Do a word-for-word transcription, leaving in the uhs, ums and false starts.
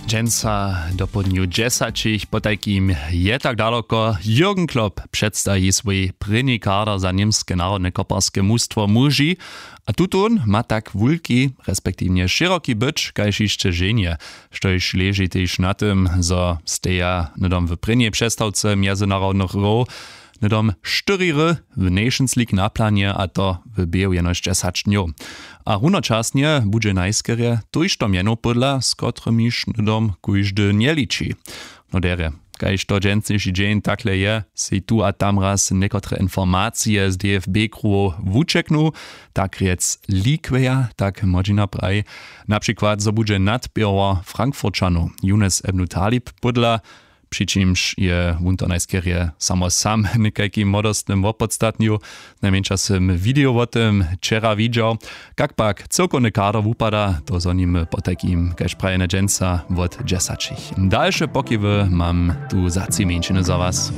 Dźensa dopołdnju dźesaćich potajkim je tak daloko. Jürgen Klopp předstaji swój prěni kader za němske narodne koparske mustwo muži. A tutón ma tak wulki respektiwnje šěroki być kaž hišće ženje, štož leži tež na tym, zo steja hnydom w prěnjej přestawce mjezynarodnych hrow hnydom štyri hry w Nations League na planje, a to w běhu jenož dźesać dnjow. A runočasnje budźe najskerje tójšto mjenow pódla, z kotrymiž hnydom kóždy njeliči. No derje, kaž to dźensniši dźeń takle je, sej tu a tam raz někotre informacije z D F B kruhow wućeknu, tak rjec likweja, tak młodźina praji. Na přikład zo budźe nadběhor Frankfurćanow Younes Ebnu Talib pódla, při čimž je wón to najskerje samo sam w někajkim młodostnym wopodstatnju. Najmjeńša sym video wo tym wčera widźał. Kak pak cyłkowny kader wupada, to zhonimy potajkim kaž prajene dźensa wot dźesaćich. Dalše pokiwy mam tu za tři mjeńšiny za was.